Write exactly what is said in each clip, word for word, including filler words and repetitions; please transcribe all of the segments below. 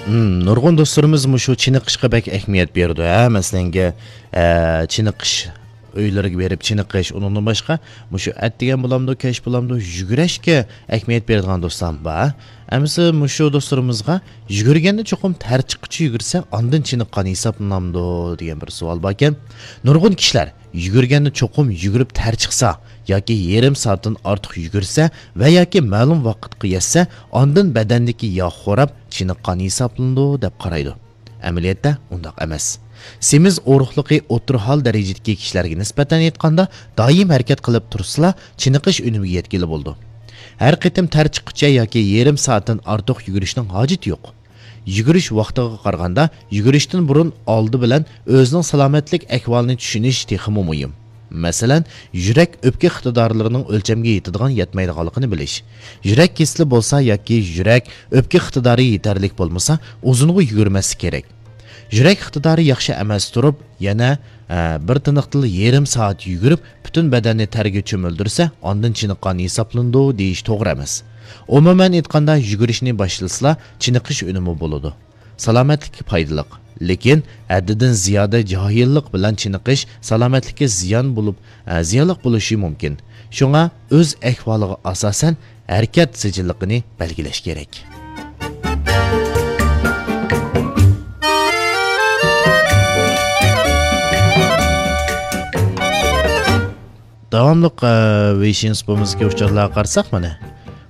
ھىم، نۇرغۇن دوستلىرىمىز مۇشۇ چېنىقىشقا بەك ئەھمىيەت بېرىدۇ، ھە؟ مەسىلەنكى، ئە، چېنىقىش ئۆيلىرىگە بېرىپ چېنىقىش، ئۇنىڭدىن باشقا مۇشۇ ئەتىگەن بولامدۇ، كەچ بولامدۇ، يۈگۈرۈشكە ئەھمىيەت بېرىدىغان دوستلار بار. ئەمىسە مۇشۇ دوستلىرىمىزغا يۈگۈرگەندە چوقۇم تەر چىققۇچە يۈگۈرسە، ئاندىن چېنىققان ھېسابلىنامدۇ دېگەن بىر سوئال باركەن. نۇرغۇن كىشىلەر يۈگۈرگەندە چوقۇم يۈگۈرۈپ تەر چىقسا ياكى يېرىم سائەتتىن ئارتۇق يۈگۈرسە ۋە ياكى مەلۇم ۋاقىتقا يەتسە، ئاندىن بەدەندىكى ياغ خوراپ چېنىققان ھېسابلىنىدۇ دەپ قارايدۇ. ئەمەلىيەتتە ئۇنداق ئەمەس. سېمىز ئورۇقلۇقى ئوتتۇرا ھال دەرىجىدىكى كىشىلەرگە نىسبەتەن ئېيتقاندا، دائىم ھەرىكەت قىلىپ تۇرسىلا، چېنىقىش ئۈنۈمىگە يەتكىلى بولىدۇ. ھەر قېتىم تەر چىققۇچە ياكى يېرىم سائەتتىن ئارتۇق يۈگۈرۈشنىڭ ھاجىتى يوق. يۈگۈرۈش ۋاقتىغا قارىغاندا، يۈگۈرۈشتىن بۇرۇن ئالدى بىلەن ئۆزىنىڭ سالامەتلىك ئەھۋالىنى چۈشىنىش تېخىمۇ مۇھىم. مەسىلەن، يۈرەك ئۆپكە ئىقتىدارلىرىنىڭ ئۆلچەمگە يېتىدىغان يەتمەيدىغانلىقىنى بىلىش. يۈرەك كېسىلى بولسا ياكى يۈرەك ئۆپكە ئىقتىدارى يېتەرلىك بولمىسا، ئۇزۇنغا يۈگۈرمەسلىك كېرەك. يۈرەك ئىقتىدارى ياخشى ئەمەس تۇرۇپ، يەنە، ئە، بىر تىنىقتىلا يېرىم سائەت يۈگۈرۈپ، پۈتۈن بەدەننى تەرگە چۆمۈلدۈرسە، ئاندىن چېنىققان ھېسابلىنىدۇ دېيىش توغرا ئەمەس. ئومۇمەن ئېيتقاندا، يۈگۈرۈشنى باشلىسىلا، چېنىقىش ئۈنۈمى بولىدۇ. سالامەتلىككە پايدىلىق، لېكىن ھەددىدىن زىيادە جاھىللىق بىلەن چېنىقىش سالامەتلىككە زىيان بولۇپ، ئە، زىيانلىق بولۇشى مۇمكىن. شۇڭا ئۆز ئەھۋالىغا ئاساسەن ھەرىكەت سىجىللىقىنى بەلگىلەش كېرەك. داۋاملىق، ئە، ۋېيشىن سۇپىمىزدىكى ئۇچۇرلارغا قارىساق، مانا،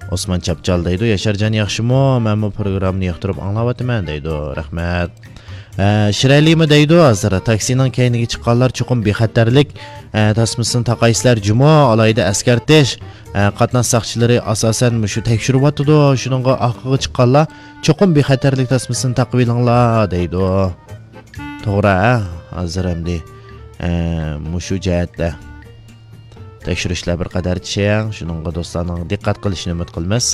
ئوسمان چاپچال دەيدۇ، «ياشارجان ياخشىمۇ؟ مەنمۇ پروگراممىنى ياقتۇرۇپ ئاڭلاۋاتىمەن» دەيدۇ. رەھمەت. ئە، شىرەلىمۇ دەيدۇ، ھازىر تاكسىنىڭ كەينىگە چىققانلار چوقۇم بىخەتەرلىك، ئە، تاسمىسىنى تاقايسىلەر جۇمۇ، ئالاھىدە ئەسكەرتىش. ئە، قاتناش ساقچىلىرى ئاساسەن مۇشۇ تەكشۈرۈۋاتىدۇ، شۇنىڭغا ئارقىغا چىققانلار چوقۇم بىخەتەرلىك تاسمىسىنى تاقىۋېلىڭلار دەيدۇ. توغرا، ھە؟ ھازىر ئەمدى، ئە، مۇشۇ جەھەتتە تەكشۈرۈشلەر بىر قەدەر چىڭ، شۇنىڭغا دوستلارنىڭ دىققەت قىلىشىنى ئۈمىد قىلىمىز.